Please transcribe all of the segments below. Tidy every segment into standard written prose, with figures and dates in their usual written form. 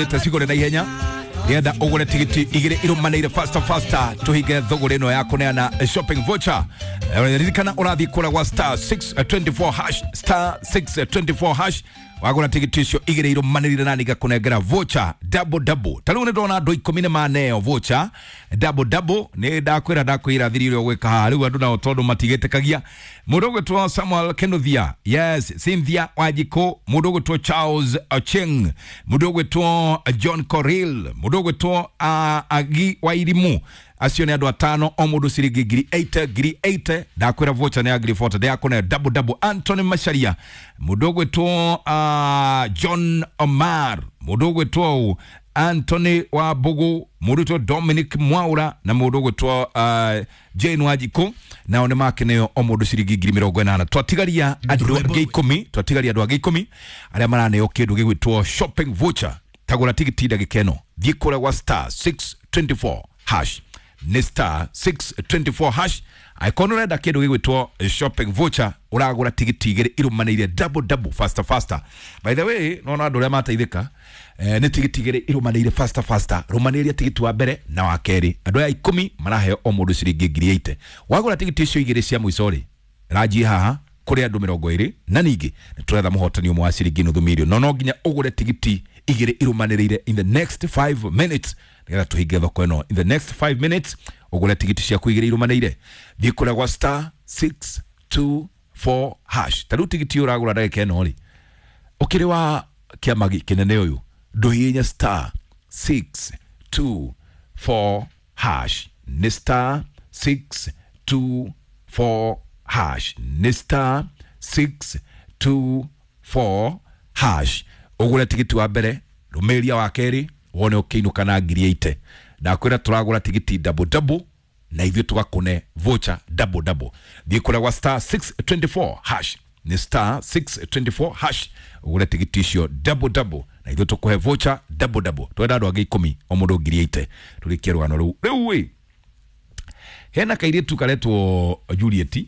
Cigũre na ihenya nĩgetha ũgũre tigiti igĩrĩ irũmanĩire faster faster tũhinge thũgũrĩ ĩno ya kũneana shopping voucher. Ririkana ũrathiĩ kũrĩa gwa star 624 hash, star 624 hash, wagũra tigiti icio igĩrĩ irũmanĩrĩire na ningakũnengera voucher double double. Ta rĩu nĩ ndona andũ 10 nĩ maneo voucher double double. Nĩ ndakwĩra thiri ũrĩa ũgwĩka haha. Rĩu andũ nao tondũ matigĩtĩkagia, mũndũ ũgwĩtwo Samuel Kenuthia, yes, Cynthia Wanjikũ, mũndũ ũgwĩtwo Charles Ocheng, mũndũ ũgwĩtwo John Coril, mũndũ ũgwĩtwo Agi Wairimu. Acio nĩ andũ 5, o mũndũ ciringi ngiri 8, ngiri 8. Ndakwĩra voucher nĩ ya ngiri 40, ndĩrakũne double double. Anthony Macharia, mũndũ ũgwĩtwo John Omar, mũndũ ũgwĩtwo Anthony wa Mbugu, mũndũ ũgwĩtwo Dominic Mwaura na mũndũ ũgwĩtwo Jane Wanjikũ, nao nĩ makeneo o mũndũ ciringi ngiri 80. Twatigaria andũ angĩ 10, twatigaria andũ angĩ 10 arĩa maraneo kĩndũ gĩgwĩtwo shopping voucher. Tagũra tigiti ndagĩka ĩno, thiĩ kũrĩa gwa star 624 hash, nĩ star 624 hash. Angĩkorwo nĩ ũrenda kĩndũ gĩgwĩtwo shopping voucher, ũragũra tigiti igĩrĩ irũmanĩire double double faster faster. By the way, nona andũ arĩa mateithĩka nĩ tigiti igĩrĩ irũmanĩire faster faster. Rũmanĩrĩria tigiti wa mbere na wa kerĩ, andũ aya 10 maraheo o mũndũ ciringi ngiri 8. Wagũra tigiti icio igĩrĩ cia mũico rĩ, ranjie haha kũrĩ andũ 20, na ningĩ nĩ tũretha mũhotani ũmwe wa ciringi nuthu mirioni, no no nginya ũgũre tigiti igĩrĩ irũmanĩrĩire in the next 5 minutes nĩgetha tũhinge thoko ĩno. In the next 5 minutes ũgũre tigiti ciaku igĩrĩ irũmanĩire, thiĩ kũrĩa gwa star 624 hash. Ta rĩu tigiti ũragũra ndagĩka ĩno rĩ, ũkĩrĩ wa kĩama kĩnene ũyũ, ndũhihinya star 624 hash, nĩ star 624 hash, nĩ star 624 hash. Ũgũre tigiti wa mbere, rũmĩrĩria wa kerĩ, wone ũkĩinũka na ngiri 8. Ndakwĩra tũragũra tigiti double double na ithuĩ tũgakũne voucher double double. Thiĩ kũrĩa gwa star 624 hash, nĩ star 624 hash, ũgũre tigiti icio double double na ithuĩ tũkũhe voucher double double. Twenda andũ angĩ 10, o mũndũ ngiri 8, tũrĩkie rũgano rũu. Rĩu ĩ hena kairĩtu karetwo Juliet.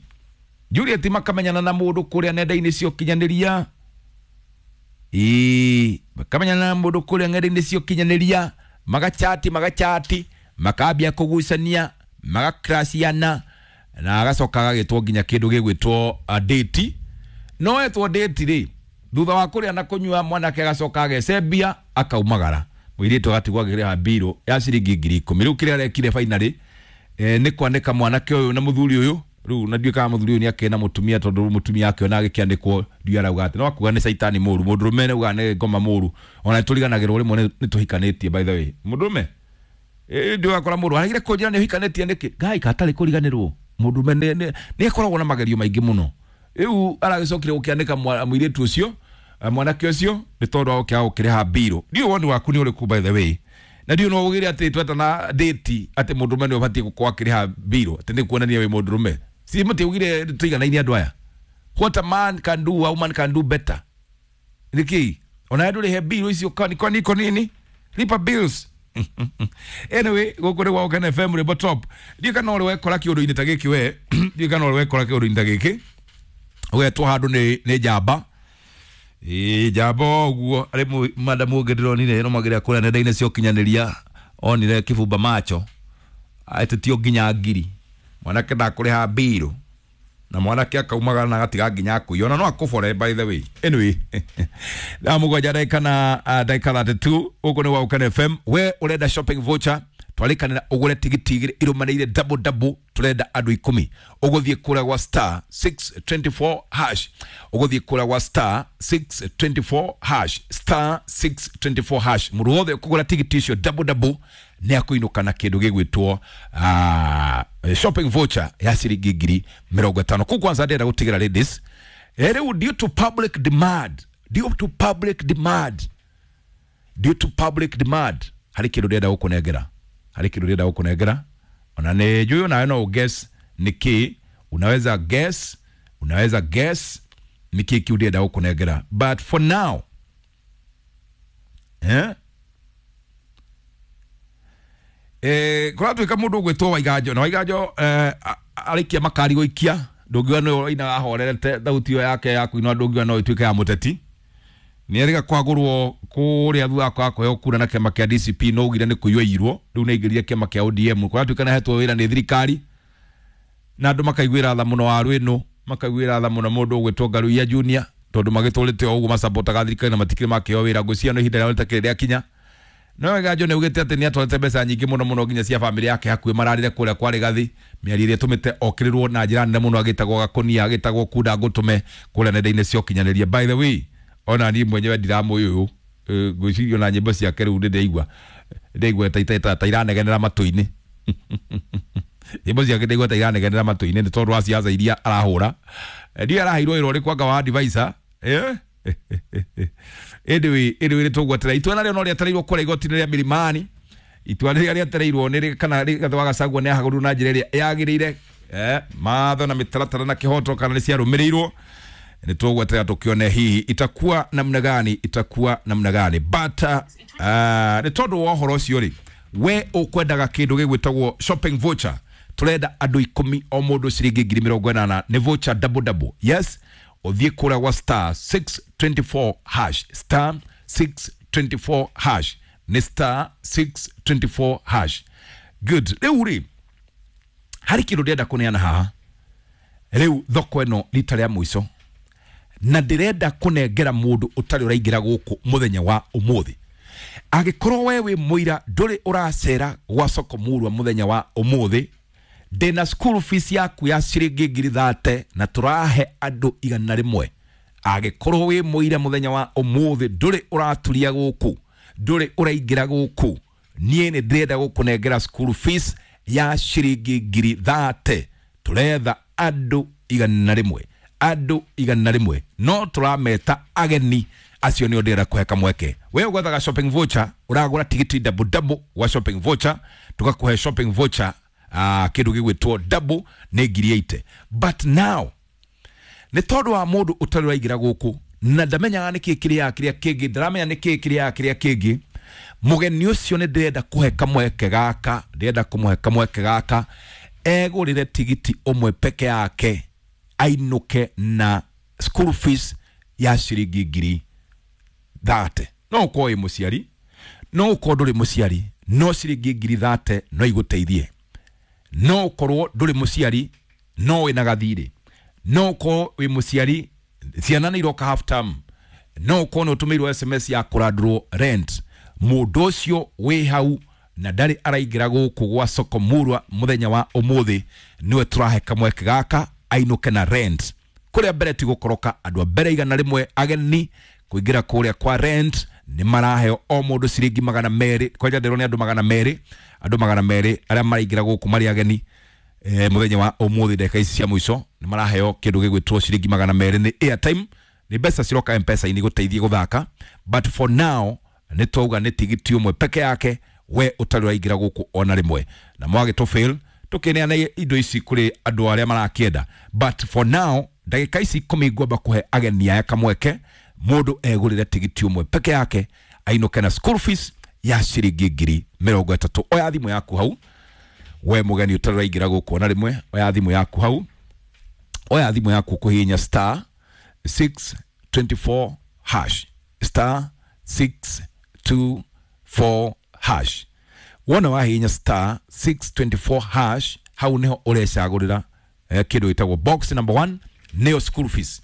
Juliet makamenyana na mũndũ kũrĩa nenda-inĩ cia ũkinyanĩria. Ĩĩ, makamenyana na mũndũ kũrĩa nenda-inĩ cia ũkinyanĩria, magachati, makambia kũgucania, magakrashiana, na agacoka agagĩtwo nginya kĩndũ gĩgwĩtwo date. No etwo date rĩ, thutha wa kũrĩa na kũnyua, mwanake agacoka agecembia akaumagara, mũirĩtu agatigwo akĩrĩha mbirũ ya ciringi ngiri 10. Rĩu kĩrĩa arekire finally nĩ kwanĩka mwanake ũyũ na mũthuri ũyũ. Rĩu na ndiũĩ kana mũthuri ũyũ nĩ akĩrĩ na mũtumia, tondũ mũtumia akĩona agĩkĩanĩkwo ndiũĩ arauga atĩ no akuga nĩ caitani mũru, mũndũrũme nĩ augaga nĩ ngoma mũru. Ona nĩ tũriganagĩrwo rĩmwe nĩ tũhikanĩtie. By the way, mũndũrũme ndiũĩ wakora mũndũ aragire kũnjĩra nĩ ũhikanĩtie nĩkĩ, ngai katarĩ kũriganĩrwo. Mũndũrũme nĩ akoragwo na magerio maingĩ mũno. Rĩu aragĩcokire gũkĩanĩka mũirĩtu ũcio, mwanake ũcio, nĩ tondũ wa gũkĩaga gũkĩrĩha mbirũ. Ndiũĩ woni waku nĩ ũrĩkũ, by the way, na ndiũĩ no ugire atĩ twetana date atĩ mũndũrũme nĩ ũbatiĩ gũkorwo akĩrĩha mbirũ atĩ nĩ kuonania wĩ mũndũrũme. Si mũtiugire tũiganaine andũ aya? What a man can do, a woman can do better. Nĩkĩ ona ndũrĩhe mbirũ icio? Kwani iko nini? Lipa bills. Anyway, gũkũ nĩ gwa Ũkene FM, rwĩmbo top. Ndiũĩ kana ũrĩ wekora kĩũndũ-inĩ ta gĩkĩ we, ndiũĩ kana ũrĩ wekora kĩũndũ-inĩ ta gĩkĩ, ũgetwo handũ nĩ njamba. Ĩĩ, njamba ũguo arĩ madamu ũngĩ ndĩronire ĩrũmagĩrĩra kũrĩa nenda-inĩ cia ũkinyanĩria, onire kĩbumba macho etĩtio nginya ngiri, mwanake ndakũrĩha mbirũ, na mwanake akaumagara na agatiga nginya akũiya, ona no akũbore, by the way. Anyway, thaa 7 ndagĩka na ndagĩka 32, gũkũ nĩ gwa Ũkene FM. We ũrenda shopping voucher, twarĩkanĩra ũgũre tigiti igĩrĩ irũmanĩire double double, tũrenda andũ 10. Ũgũthiĩ kũrĩa gwa star 624 hash, ũgũthiĩ kũrĩa gwa star 624 hash, star 624 hash. Mũndũ wothe ũkũgũra tigiti icio double double nĩ akũinũka na kĩndũ gĩgwĩtwo shopping voucher ya ciringi ngiri 50. Kũu kwanza ndĩrenda gũtigĩra ladies, rĩu due to public demand, due to public demand, due to public demand, harĩ kĩndũ ndĩrenda gũkũnengera, harĩ kĩndũ ndĩrenda gũkũnengera, ona nĩ njũĩ onawe no guess nĩ kĩ. Unaweza guess, unaweza guess nĩ kĩ kĩu ndĩrenda gũkũnengera, but for now, eh? Kũratuĩka mũndũ ũgwĩtwo Waiganjo, na Waiganjo arĩkia makari gũikia, ndũngiuga nĩwe ũinaga ahorerete, thauti ĩyo yake ya kũina ndũngiuga no ĩtuĩke ya mũteti. Nĩ erĩga kwagũrwo kũrĩa thutha wa kũheo kura na kĩama kĩa DCP, no ugire nĩ kũiywo irwo rĩu nĩ aingĩrire kĩama kĩa ODM. Kũratuĩka nĩ ahetwo wĩra nĩ thirikari na andũ makaiguĩra tha mũno waru ĩno, makaiguĩra tha mũno mũndũ ũgwĩtwo Ngaruiya Junior, tondũ magĩtũrĩte o ũguo macapotaga thirikari na matikĩrĩ makĩheo wĩra. Ngwĩciria no ihinda rĩao rĩtakĩrĩ rĩakinya. No Waiganjo nĩ augĩte atĩ nĩ atwarĩte mbeca nyingĩ mũno mũno nginya cia bamĩrĩ yake hakuhĩ mararire kũrĩa kwa Rigathi, mĩario ĩrĩa ĩtũmĩte okĩrĩrwo na njĩra nene mũno, agĩtagwo Gakũnia, agĩtagwo kunda ngũtũme kũrĩa nenda-inĩ cia ũkinyanĩria. By the way, ona niĩ mwenyewe ndiramũĩ ũyũ, ngwĩciria ona nyĩmbo ciake rĩu nĩ ndĩraigua ta iranegenera matũ-inĩ. Nyĩmbo ciake ndaigua ta iranegenera matũ-inĩ nĩ tondũ wa ciaca iria arahũra. Ndiũĩ araheirwo wĩra ũrĩkũ anga wa advisor. Anyway, nĩ tũgwetera itua narĩo no rĩetereirwo kũrĩa igoti-inĩ rĩa Milimani. Itua rĩrĩa rĩetereirwo nĩ kana Rigathĩ wa Gachagua nĩ ahagũrirwo na njĩra ĩrĩa yagĩrĩire, matho na mĩtaratara na kĩhoto kana nĩ ciarũmĩrĩirwo. Nĩ tũgwetera tũkĩone hihi itakuwa namna gani, itakuwa namna gani. But nĩ tondũ wa ũhoro ũcio rĩ, we ũkwendaga kĩndũ gĩgwĩtagwo shopping voucher, tũrenda andũ 10 o mũndũ ciringi 80,000, nĩ voucher double double. Yes, ũthiĩ kũrĩa gwa star 624 hash, star 624 hash, nĩ star 624 hash. Good. Rĩu rĩ, harĩ kĩndũ ndĩrenda kũneana haha rĩu, thoko ĩno rita rĩa mũico, na ndĩrenda kũnengera mũndũ ũtarĩ ũraingĩra gũkũ mũthenya wa ũmũthĩ. Angĩkorwo we wĩ mũira ndũrĩ ũracera gwa soko murwa mũthenya wa ũmũthĩ, ndĩna school fees yaku ya ciringi 30,000 na tũrahe andũ 100. Angĩkorwo wĩ mũira mũthenya wa ũmũthĩ ndũrĩ ũraturia gũkũ, ndũrĩ ũraingĩra gũkũ, niĩ nĩ ndĩrenda gũkũnengera school fees ya ciringi 30,000. Tũretha andũ 100, andũ 100, no tũrameta ageni acio nĩo ndĩrenda kũhe kamweke. We ũgwethaga shopping voucher, ũragũra tigiti double double wa shopping voucher, tũgakũhe shopping voucher kĩndũ gĩgwĩtwo double nĩ 80,000. But now nĩ tondũ wa mũndũ ũtarĩ ũraingĩra gũkũ na ndamenyaga nĩkĩ kĩrĩa kĩrĩa kĩngĩ, ndaramenya nĩkĩ kĩrĩa kĩrĩa kĩngĩ, mũgeni ũcio nĩ ndĩrenda kũhe kamweke gaka, ndĩrenda kũmũhe kamweke gaka egũrĩre tigiti ũmwe peke yake ainũke na school fees ya ciringi 30,000. No ũkorwo wĩ mũciari, no ũkorwo ndũrĩ mũciari, no ciringi 30,000 no igũteithie. No ũkorwo ndũrĩ mũciari no wĩna gathirĩ, no ũkorwo wĩ mũciari ciana nĩ iroka half term, no ũkorwo nĩ ũtũmĩirwo SMS ya kũrandũrwo rent. Mũndũ ũcio wĩ hau na ndarĩ araingĩra gũkũ gwa soko murwa mũthenya wa ũmũthĩ, nĩwe tũrahe kamweke gaka ainũke na rent. Kũrĩa mbere ti gũkoroka, andũ a mbere 100 ageni kũingĩra kũrĩa kwa rent nĩ maraheo o mũndũ ciringi 200. Kwanja ndĩrona nĩ andũ 200, andũ 200 arĩa maraingĩra gũkũ marĩ ageni mũthenya wa ũmũthĩ ndagĩka ici cia mũico nĩ maraheo kĩndũ gĩgwĩtwo ciringi 200 nĩ airtime, nĩ mbeca ciroka M-Pesa-inĩ gũteithia gũthaka. But for now nĩ twauga nĩ tigiti ũmwe peke yake we ũtarĩ ũraingĩra gũkũ ona rĩmwe, na mwagĩtũ fail tũkĩneana indo ici kũrĩ andũ arĩa marakĩenda. But for now ndagĩka ici 10 ngwamba kũhe ageni aya kamweke, mũndũ egũrĩre tigiti ũmwe peke yake ainũke na school fees ya ciringi 30,000. Oya thimũ yaku hau, we mũgeni ũtarĩ ũraingĩra gũkũ ona rĩmwe, oya thimũ yaku hau, oya thimũ yaku kũhihinya star 624 hash, star 624 hash. Wona wahihinya star 624 hash, hau niho ũrecagũrĩra kĩndũ gĩtagwo box number 1 nĩyo school fees.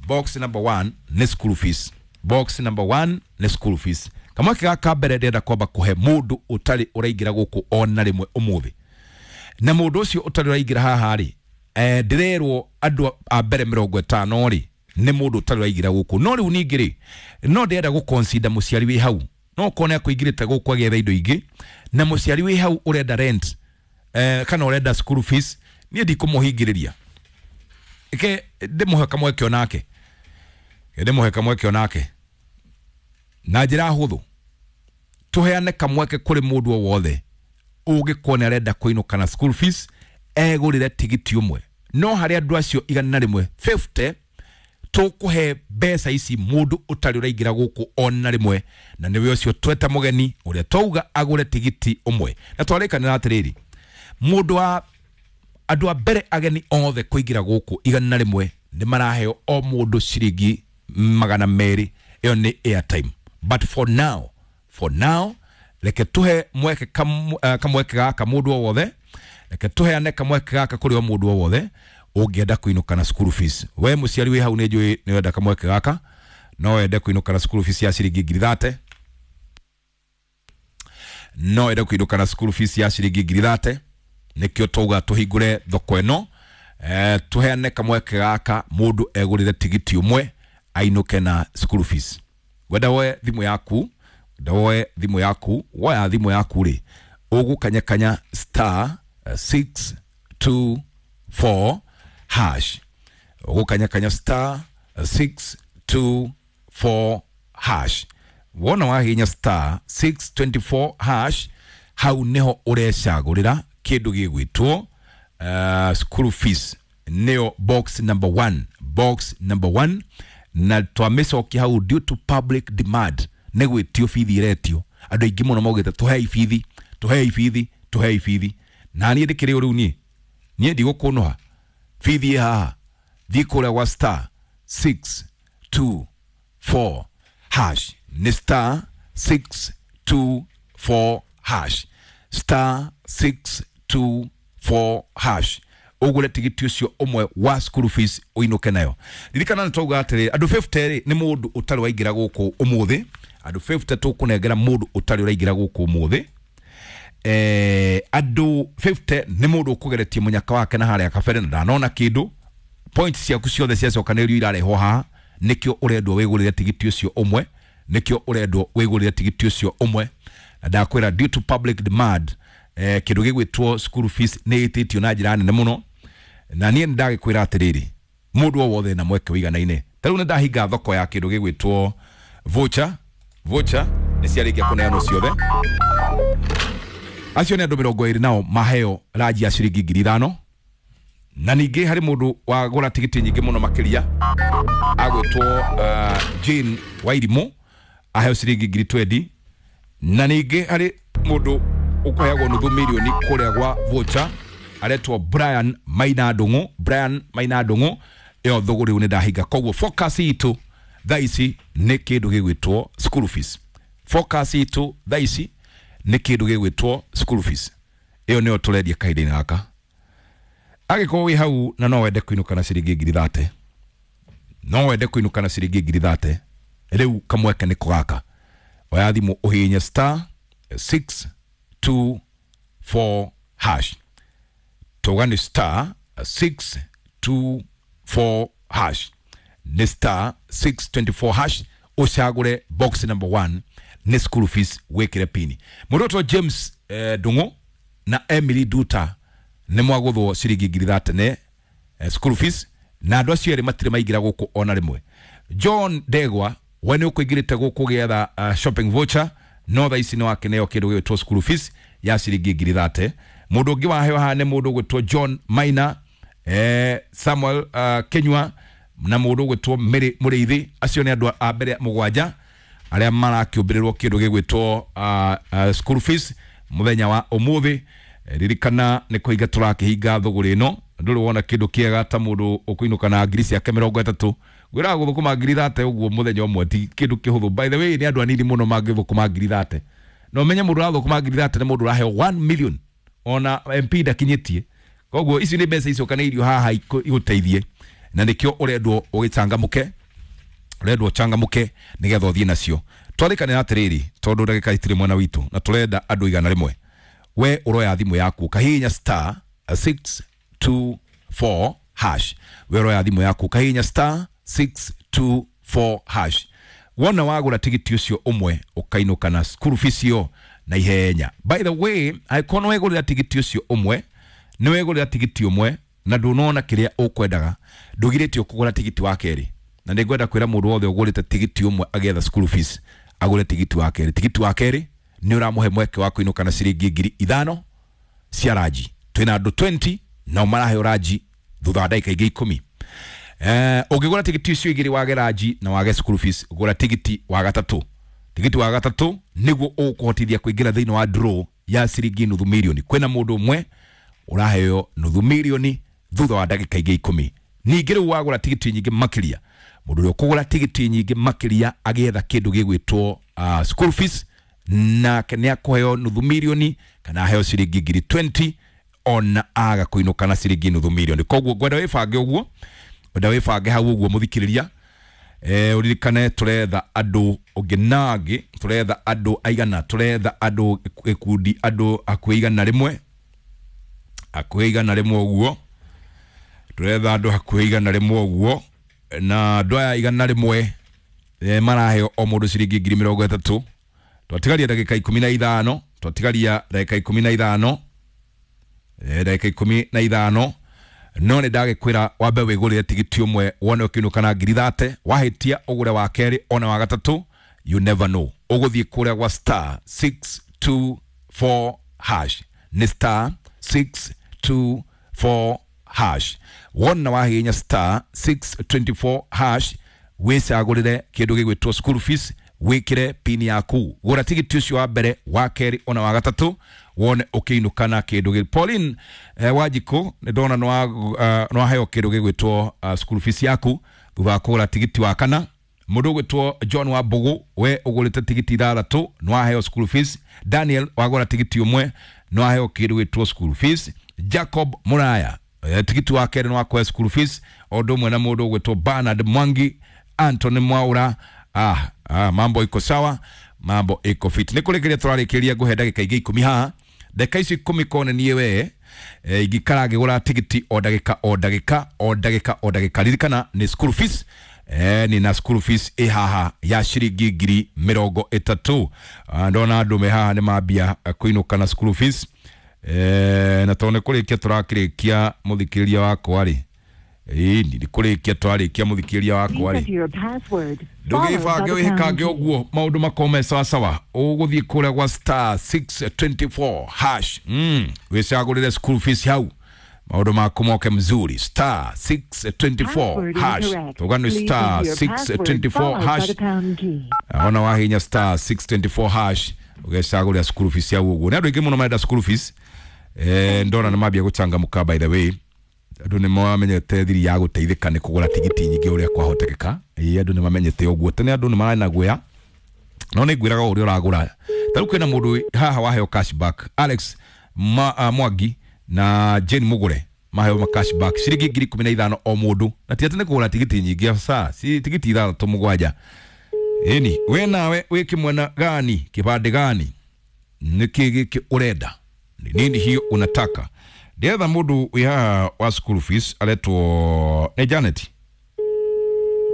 Box number 1 nĩ school fees. Box number 1 nĩ school fees. Kamweke gaka mbere ndĩrenda kwamba kũhe mũndũ ũtarĩ ũraingĩra gũkũ ona rĩmwe ũmũthĩ. Na mũndũ ũcio ũtarĩ ũraingĩra haha rĩ, ndĩrerwo andũ a mbere 50 rĩ nĩ mũndũ ũtarĩ ũraingĩra gũkũ. No rĩu ningĩ rĩ, no ndĩrenda gũconsider mũciari wĩ hau, no ũkorwo nĩ akũingĩrĩte gũkũ agĩetha indo ingĩ, na mũciari wĩ hau ũrenda rent kana ũrenda school fees, niĩ ndikũmũhingĩrĩria. Ke ndĩmũhe kamweke onake, ndĩmũhe kamweke onake na njĩra hũthũ. Tũheane kamweke kũrĩ mũndũ o wothe ũngĩkorwo nĩ arenda kũinũka na school fees egũrĩre tigiti ũmwe. No harĩ andũ acio 150 tũkũhe mbeca ici mũndũ ũtarĩ ũraingĩra gũkũ ona rĩmwe, na nĩwe ũcio tweta mũgeni ũrĩa twauga agũre tigiti ũmwe. Na twarĩkanĩra atĩrĩrĩ, mũndũ wa andũ a mbere ageni othe kũingĩra gũkũ 100 nĩ maraheo o mũndũ ciringi 200 Ĩyo nĩ airtime. But for now, for now, reke tuhe mweke kamweke gaka mũndũ o wothe, reke tuheane kamweke gaka kũrĩ o mũndũ o wothe ũngĩenda kũinũka na school fees. We mũciari wĩ hau nĩ njũĩ nĩ wenda kamweke gaka, no wende kũinũka na school fees ya ciringi 30,000, no wende kũinũka na school fees ya ciringi 30,000. Nĩkĩo twauga tũhingũre thoko ĩno, tuheane kamweke gaka mũndũ egũrĩre tigiti ũmwe ainũke na school fees. Wenda woe thimũ yaku, wenda woe thimũ yaku, woya thimũ yaku rĩ, ũgũkanyakanya star 624 hash, ũgũkanyakanya star 624 hash. Wona wahinya star 624 hash, hau niho ũrecagũrĩra kĩndũ gĩgwĩtwo school fees, nĩyo box number 1, box number 1. Na twamĩcokia hau due to public demand, nĩ gwĩtio bithi iretio, andũ aingĩ mũno maugĩte tũhei bithi, tũhei bithi, tũhei bithi. Na niĩ ndĩkĩrĩ o rĩu niĩ ndigũkũnũha, bithi ĩ haha, thiĩ kũrĩa gwa star 624 hash, nĩ star 624 hash, star 624 hash, ũgũre tigiti ũcio ũmwe wa school fees ũinũke nayo. Ririkana nĩ twauga atĩrĩ, andũ 50 rĩ nĩ mũndũ ũtarĩ waingĩra gũkũ ũmũthĩ, andũ 50 tũkũnengera mũndũ ũtarĩ ũraingĩra gũkũ ũmũthĩ. Andũ 50 nĩ mũndũ ũkũgeretie mũnyaka wake na harĩa kabere na ndanona kĩndũ, points ciaku ciothe ciacokanĩrĩrio irarehwo haha, nĩkĩo ũrendwo wĩgũrĩre tigiti ũcio ũmwe, nĩkĩo ũrendwo wĩgũrĩre tigiti ũcio ũmwe. Na ndakwĩra due to public demand, kĩndũ gĩgwĩtwo school fees nĩ ĩtĩtio na njĩra nene mũno. Na niĩ nĩndagĩkwĩra atĩrĩrĩ, mũndũ o wothe na mweke wĩiganaine. Ta rĩu nĩndahinga thoko ya kĩndũ gĩgwĩtwo voucher, voucher nĩ ciarĩkia kũneanwo ciothe. Acio nĩ andũ 20 nao maheo ranji ya ciringi 5,000. Na ningĩ harĩ mũndũ wagũra tigiti nyingĩ mũno makĩria agwĩtwo Jane Wairimũ aheo ciringi 20,000. Na ningĩ harĩ mũndũ ũkũheagwo nuthu mirioni kũrĩa gwa voucher aretwo Brian Maina Ndung'u, Brian Maina Ndung'u, ĩyo thũgũrĩ rĩu nĩndahinga. Koguo focus itũ thaa ici nĩ kĩndũ gĩgwĩtwo school fees, focus itũ thaa ici nĩ kĩndũ gĩgwĩtwo school fees, ĩyo nĩyo tũrendia kahinda-inĩ gaka. Angĩkorwo wĩ hau na no wende kũinũka na ciringi 30,000, no wende kũinũka na ciringi 30,000, rĩu kamweke nĩko gaka. Oya thimũ ũhihinye star 624 hash, tauga nĩ star 624 hash, nĩ star 624 hash, ũcagũre box number 1 nĩ school fees, wĩkĩre pini. Mũndũ ũtwo James Ndung'u na Emily Duta nĩ mwagũthwo ciringi 30,000 nĩ school fees, na andũ acio erĩ matirĩ maingĩra gũkũ ona rĩmwe. John Ndegwa we nĩ ũkũingĩrĩte gũkũ gĩetha shopping voucher, no thaa ici nĩ wakĩneo kĩndũ gĩgwĩtwo school fees ya ciringi 30,000. Mũndũ ũngĩ waheo haha nĩ mũndũ ũgwĩtwo John Maina, Samuel Kenyua na mũndũ ũgwĩtwo Mary Mũrĩithi. Acio nĩ andũ a mbere 7 arĩa marakĩũmbĩrĩrwo kĩndũ gĩgwĩtwo school fees mũthenya wa ũmũthĩ. Ririkana nĩ kũhinga tũrakĩhinga thũgũrĩ ĩno, ndũrĩ wona kĩndũ kĩega ta mũndũ ũkũinũka na ngiri ciake 30. Ngwĩraga gũthũkũma 30,000 ũguo mũthenya ũmwe ti kĩndũ kĩhũthũ. By the way, nĩ andũ anini mũno mangĩthũkũma 30,000. Na ũmenye mũndũ ũrathũkũma 30,000 nĩ mũndũ ũraheo 1 million, ona MP ndakinyĩtie. Koguo ici nĩ mbeca icokanĩirio haha igũteithie, na nĩkĩo ũrendwo ũgĩcangamũke, ũrendwo ũcangamũke nĩgetha ũthiĩ nacio. Twarĩkanĩra atĩrĩrĩ, tondũ ndagĩka itirĩ mwena witũ na tũrenda andũ 100. We ũroya thimũ yaku ũkahihinya star 624 hash, we ũroya thimũ yaku ũkahihinya star 624 hash. Wona wagũra tigiti ũcio ũmwe ũkainũka na school fees ĩyo na ihenya. By the way, angĩkorwo nĩ wegũrĩra tigiti ũcio ũmwe, nĩ wegũrĩra tigiti ũmwe na ndũnona kĩrĩa ũkwendaga, ndũgirĩtio kũgũra tigiti wa kerĩ. Na nĩngwenda kwĩra mũndũ wothe ũgũrĩte tigiti ũmwe agĩetha school fees agũre tigiti wa kerĩ. Tigiti wa kerĩ nĩ ũramũhe mweke wa kũinũka na ciringi 5,000 cia ranji. Twĩna andũ 20 nao maraheo ranji thutha wa ndagĩka ingĩ 10. Ũngĩgũra tigiti icio igĩrĩ wage ranji na wage school fees, gũra tigiti wa gatatũ. Tigiti wa gatatũ nĩguo ũkũhotithia kũingĩra thĩinĩ wa draw ya ciringi nuthu mirioni. Kwĩna mũndũ ũmwe ũraheo nuthu mirioni thutha wa ndagĩka ingĩ 10. Ningĩ rĩu wagũra tigiti nyingĩ makĩria, Mũndũ ũrĩa ũkũgũra tigiti nyingĩ makĩria agĩetha kĩndũ gĩgwĩtwo school fees, nake nĩ akũheo nuthu mirioni kana aheo ciringi ngiri 20 ona aga kũinũka na ciringi nuthu mirioni. Koguo ngwenda wĩbange ũguo, ngwenda wĩbange hau ũguo mũthikĩrĩria. Uririkane turetha andu ungi na angi, turetha andu aigana, turetha andu gikundi andu hakuhi 100, hakuhi 100 uguo, turetha andu hakuhi 100 uguo, na andu aya 100 maraheo o mundu ciringi ngiri 30. Twatigaria ndagika 15, twatigaria ndagika 15, ndagika 15. No nĩ ndagĩkwĩra wambe wĩgũrĩre tigiti ũmwe wone ũkĩinũka na ngiri 30, wahĩtia ũgũre wa kerĩ ona wa gatatũ, you never know. Ũgũthiĩ kũrĩa gwa star 624 hash, nĩ star 624 hash. Wona wahihinya star 624 hash wĩcagũrĩre kĩndũ gĩgwĩtwo school fees, wĩkĩre pini yaku, gũra tigiti ũcio wa mbere, wa kerĩ ona wa gatatũ, wone ũkĩinũka na kĩndũ gĩ. Pauline Wanjikũ nĩ ndona nĩwaheo kĩndũ gĩgwĩtwo school fees yaku thutha wa kũgũra tigiti wa kana. Mũndũ ũgwĩtwo John wa Mbũgũ, we ũgũrĩte tigiti 6 nĩwaheo school fees. Daniel wagũra tigiti 1 nĩwaheo kĩndũ gĩgwĩtwo school fees. Jacob Muraya tigiti wa kerĩ nĩwakũhe school fees, o ũndũ ũmwe na mũndũ ũgwĩtwo Bernard Mwangi, Anthony Mwaura. Mambo iko sawa, mambo iko fit. Nĩ kũrĩkĩria tũrarĩkĩria, ngũhe ndagĩka ingĩ 10 haha. Ndagĩka ici 10 kone niĩ we ingĩikara ngĩgũra tigiti o ndagĩka o ndagĩka o ndagĩka o ndagĩka. Ririkana nĩ school fees, nĩ na school fees ĩ haha ya ciringi ngiri 30. Ndona andũ me haha nĩ mambia kũinũka na school fees. Na tondũ nĩ kũrĩkia tũrakĩrĩkia mũthikĩrĩria wakwa rĩ, nĩ kũrĩkia twarĩkia mũthikĩrĩria wakwa rĩ, ndũgĩbange wĩhĩkange ũguo maũndũ makorwo me sawasawa. Ũgũthiĩ kũrĩa gwa star 624 hash, wĩcagũrĩre school fees hau, maũndũ maku moke mzuri. Star 624 hash, tuga nĩ star 624 hash. Ona wahinya star 624 hash ũgecagũrĩra school fees hau ũguo. Nĩ andũ aingĩ mũno marenda school fees. Ndona nĩ mambia gũcangamũka, by the way andũ nĩ mamenyete thiri ya gũteithĩka nĩ kũgũra tigiti nyingĩ ũrĩa kwahotekeka. Andũ nĩ mamenyete ũguo, tene andũ nĩ mararĩ na guoya, no nĩ ngwĩraga ũrĩa ũragũra. Ta rĩu kwĩna mũndũ haha waheo cashback, Alex Mwangi na Jane Mugure maheo ma cashback ciringi ngiri 15 o mũndũ, na ti atĩ nĩ kũgũra tigiti nyingĩ, aca, si tigiti 6 7. Ĩni we nawe wĩ kĩmwena gani, kĩbandĩ gani, nĩkĩ gĩkĩ ũrenda, ni nini hiyo unataka? Ndetha mũndũ wĩ haha wa school fees aretwo nĩ Janet.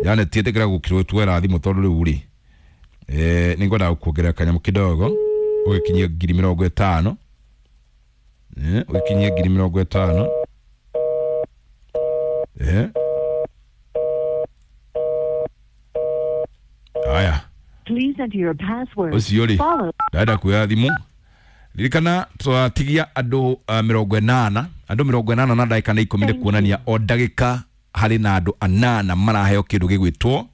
Janet ĩtĩkĩra gũkirwo twera thimũ tondũ rĩu rĩ, nĩ ngwendaga gũkuongerera kanyamũ kidogo ũgĩkinyie ngiri 50. Ũgĩkinyie ngiri 50. Aya. Please enter your password. Ũcio rĩ, ndenda kuoya thimũ. Ririkana twatigia andũ 80, andũ 80 na ndagĩka nĩ 10, nĩ kuonania o ndagĩka harĩ na andũ 8 maraheo kĩndũ gĩgwĩtwo,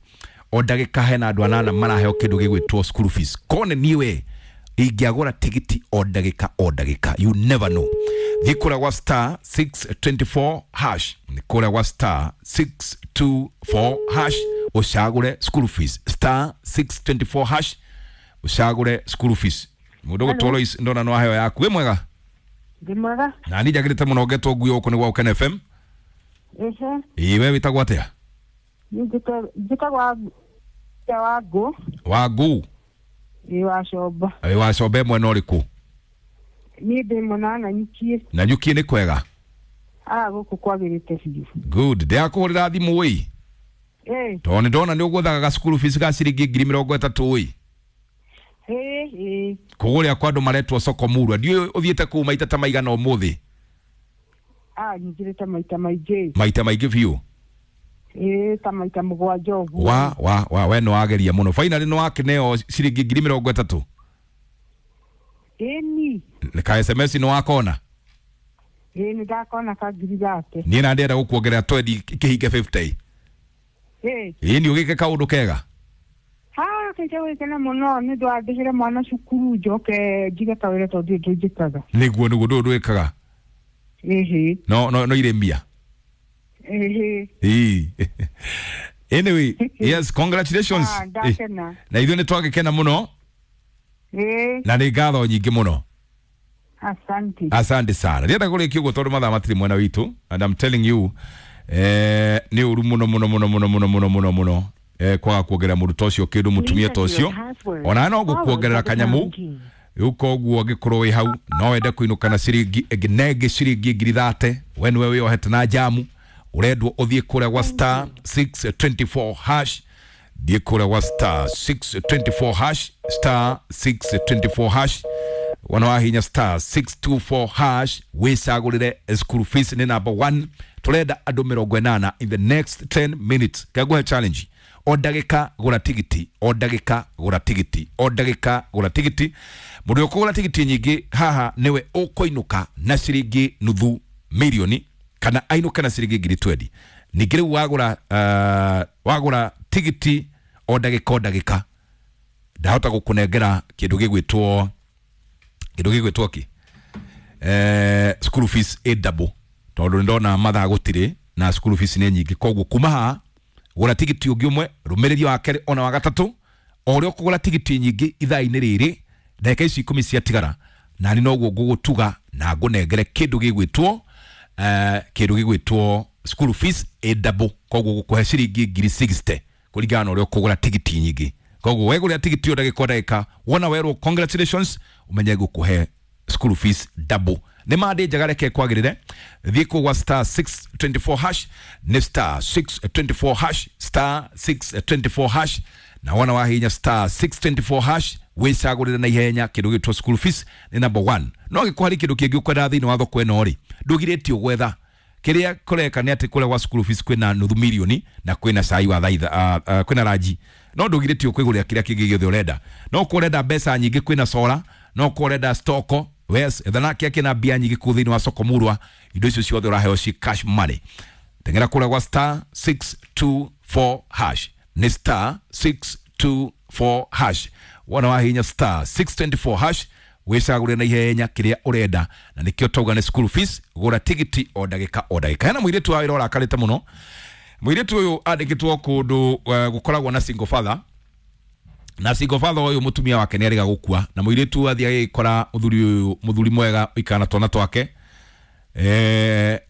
o ndagĩka hena andũ 8 maraheo kĩndũ gĩgwĩtwo school fees. Kone niwe ingĩagũra tigiti o ndagĩka o ndagĩka, you never know. Thiĩ kũrĩa gwa star 624 hash, nĩ kũrĩa gwa star 624 hash ũcagũre school fees. Star 624 hash ũcagũre school fees. Mũndũ ũgũtwo Lois, ndona no aheo yaku. Wĩ mwega? Ndĩ mwega. Na niĩ njagĩrĩte mũno ngetwo ngui gũkũ nĩ gwa Ũkene FM. Ehe. Ĩĩ, we wĩtagwo atĩa? Niĩ njĩtagwo Wangũ. Wangũ? Ĩĩ, wa Comba. Ĩĩ, wa Comba mwena ũrĩkũ? Niĩ ndĩ mwena wa Nanyukie. Nanyukie nĩ kwega? Gũkũ kwagĩrĩte biũ. Good. Ndĩrakũhũrĩra thimũ ĩ. Tondũ nĩ ndona nĩ ũgwethaga ga school fees ga ciringi ngiri 30 ĩ. Kũgũrĩa kwa andũ maretwo soko murwa, ndiũĩ ũthiĩte kũu maita ta maigana ũmũthĩ? Nyingĩrĩte maita maingĩ. Maita maingĩ biũ? Ta maita 7 ũguo. Wa we nĩ wageria mũno. Finally nĩ wakĩneo ciringi ngiri 30? Ĩni. Ka SMS nĩ wakona? Ĩĩ, nĩ ndakona ka ngiri 30. Niĩ na ndĩrenda gũkuongerera 20 kĩhinge 50. Ĩĩ, nĩ ũgĩke kaũndũ kega? Kĩnja gwĩkena mũno nĩ ũndũ wa ndĩhĩre mwana cukuru njoke njige kawĩra tondũ ndirĩ ũndũ njĩkaga. Nĩguo nĩguo ndũĩ ũndũ wĩkaga? Ĩhĩ. No no irĩmia? Ĩhĩ. Ĩĩ. Anyway, yes, congratulations. Ah, ndakena. Na ithuĩ nĩ twagĩkena mũno. Ĩĩ. Na nĩ ngatho nyingĩ mũno. Asante. Asante sana. Ndienda kũrĩkia ũguo tondũ mathaa matirĩ mwena witũ, and I'm telling you, nĩ ũru mũno mũno mũno mũno mũno mũno mũno mũno, kwaga kuongerera mũndũ ta ũcio kĩndũ, mũtumia ta ũcio, ona no gũkuongerera kanyamu rĩu. Koguo angĩkorwo wĩ hau no wende kũinũka na ciringi ĩngĩ nengĩ, ciringi 30,000, we nĩwe wĩyohete na jamu, ũrendwo ũthiĩ kũrĩa gwa star 624 hash. Thiĩ kũrĩa gwa star 624 hash, star 624 hash. Wana wahinya star 624 hash, wĩcagũrĩre school fees nĩ number 1. Tũrenda andũ 80 in the next 10 minutes. Kagũhe challenge: o ndagĩka gũra tigiti, o ndagĩka gũra tigiti, o ndagĩka gũra tigiti. Mũndũ ũkũgũra tigiti nyingĩ haha nĩwe ũkũinũka na ciringi nuthu mirioni kana ainũke na ciringi 20,000. Ningĩ rĩu wagũra, wagũra tigiti o ndagĩka o ndagĩka, ndahota gũkũnengera kĩndũ gĩgwĩtwo kĩ, school fees ĩ double, tondũ nĩ ndona mathaa gũtirĩ na school fees nĩ nyingĩ. Koguo kuma haha gũra tigiti ũngĩ ũmwe, rũmĩrĩria wa kerĩ, ona wa gatatũ. O ũrĩa ũkũgũra tigiti nyingĩ ithaa-inĩ rĩrĩ, ndagĩka ici 10 ciatigara, nani noguo ngũgũtuga na ngũnengere kĩndũ gĩgwĩtwo school fees ĩ double. Koguo gũkũhe ciringi 60,000 kũringana na ũrĩa ũkũgũra tigiti nyingĩ. Koguo wegũrĩra tigiti o ndagĩka o ndagĩka, wona werwo congratulations, ũmenye gũkũhe school fees double. Nĩ mandĩ njega, reke kwagĩrĩre. Thiĩ kũu gwa star 624 hash, nĩ star 624 hash, star 624 hash. Na wona wahinya star 624 hash, wĩcagũrĩre na ihenya kĩndũ gĩtwo school fees nĩ number 1. No gĩkũ harĩ kĩndũ kĩngĩ ũkwenda thĩinĩ wa thoko ĩno rĩ, ndũgirĩtio gwetha. Kĩrĩa kũreka nĩ atĩ kũrĩa gwa school fees kwĩna nuthu mirioni na kwĩna cai wa thaa kwĩna ranji, no ndũgirĩtio kwĩgũrĩra kĩrĩa kĩngĩ gĩothe ũrenda. No kũ ũrenda mbeca nyingĩ, kwĩna sora. No kũ ũrenda stoko, yes, ethana kĩa kĩna mbia nyingĩ kũu thĩinĩ wa soko murwa. Indo icio ciothe ũraheo ci cash money. Tengera kũrĩa gwa star 624 hash, nĩ star 624 hash. Wona wahinya star 624 hash, wĩcagũre na ihenya kĩrĩa ũrenda, na nĩkĩo tauga nĩ school fees. Gũra tigiti o ndagĩka o ndagĩka. Hena mũirĩtu wa wĩra ũrakarĩte mũno. Mũirĩtu ũyũ andĩkĩtwo kũndũ gũkoragwo na single father, na single father ũyũ mũtumia wake nĩ arĩga gũkua, na mũirĩtu athiĩ agĩkora mũthuri ũyũ, mũthuri mwega ũikara na twana twake,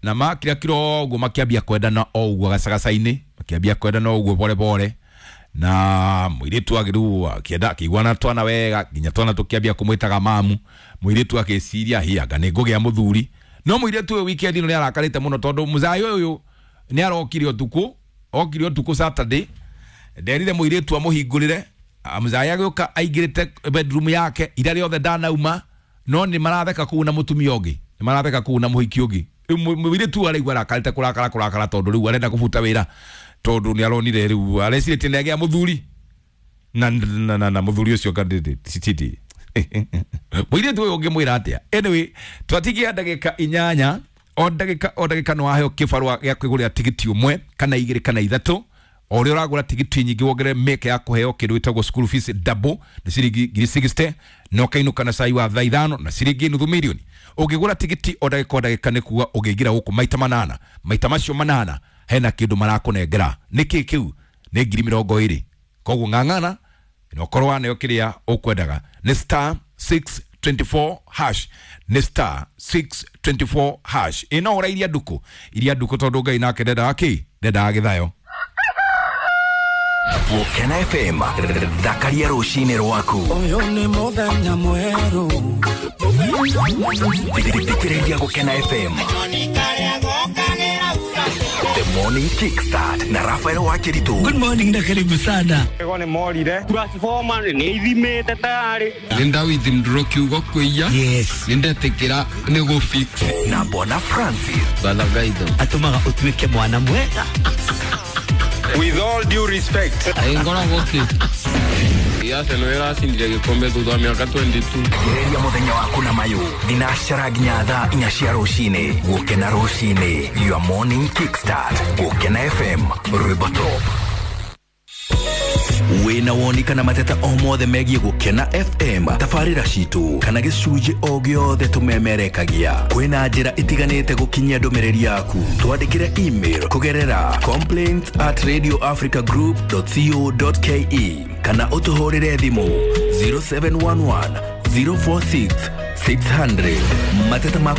na makira kiro ũguo makĩambia kwendana o ũguo gacagaca-inĩ, makĩambia kwendana o ũguo pore pore, na mũirĩtu agĩrĩu akĩenda akĩiguana twana wega, nginya twana tũkĩambia kũmwĩtaga mamu. Mũirĩtu akĩciria, hi, anga nĩ ngũgĩa mũthuri. No mũirĩtu ũyũ weekend ĩno nĩ arakarĩte mũno tondũ mũzai ũyũ nĩ arokire ũtukũ, okire ũtukũ Saturday, nderire mũirĩtu amũhingũrĩre. Mũzai agĩũka aingĩrĩte bedroom yake ira rĩothe ndanauma, no nĩ maratheka kũu na mũtumia ũngĩ, nĩ maratheka kũu na mũhiki ũngĩ. Rĩu mũirĩtu araigua arakarĩte kũrakara kũrakara tondũ rĩu arenda kũbuta wĩra, tondũ nĩ aronire rĩu arecirĩtie nĩ agĩa mũthuri na mũthuri ũcio kandĩtiti. Mũirĩtu ũyũ ũngĩmwĩra atĩa? Anyway, twatigia ndagĩka 8. O ndagĩka o ndagĩka nĩ waheo kĩbarũa gĩa kwĩgũrĩra tigiti ũmwe kana igĩrĩ kana ithatũ. O ũrĩa ũragũra tigiti nyingĩ, wongerere mĩeke ya kũheo kĩndũ gĩtagwo school fees double, nĩ ciringi 60,000, na ũkainũka na cai wa thaa 5 na ciringi nuthu mirioni. Ũngĩgũra tigiti o ndagĩka o ndagĩka, nĩ kuga ũngĩingĩra gũkũ maita manana, maita macio manana hena kĩndũ marakũnengera. Nĩ kĩ kĩu? Nĩ 20,000. Koguo ng'ang'ana na ũkorwo waneo kĩrĩa ũkwendaga. Nĩ star 624 hash, nĩ star 624 hash. Ĩ no ũra iria ndukũ, iria ndukũ, tondũ Ngai nake ndendaga kĩ, ndendaga gĩthayo. Gũkena FM, thakaria rũcinĩ rwaku. Ũyũ nĩ mũthenya mwerũ. Thikĩrĩria Gũkena FM, The Morning Kickstart na Rafael Wakiritu. Good morning na karibu sana. Ego nĩ morire transformer nĩ ithimĩte tayarĩ. Nĩ ndawithindũrwo kiugo kwĩia. Yes. Nĩ ndetĩkĩra nĩ gũfix. Na Bwana Francis. Balagaitho. Atũmaga ũtuĩke mwana mwega. With all due respect. Ngoragwo kĩ Arsenal ĩracindire gĩkombe thutha wa mĩaka 22. Gereria mũthenya waku na mayũ thinacara nginya thaa 4 cia rũcinĩ. Gũkena rũcinĩ, your morning kickstart. Gũkena FM, rwĩmbo top. Wĩna woni kana mateta o mothe megiĩ Gũkena FM, tabarĩra citũ kana gĩcunjĩ o gĩothe tũmemerekagia, kwĩna njĩra itiganĩte gũkinyia ndũmĩrĩri yaku. Twandĩkĩre email kũgerera complaints at radioafricagroup.co.ke kana ũtũhũrĩre thimũ 0711 046 600. Mateta maku.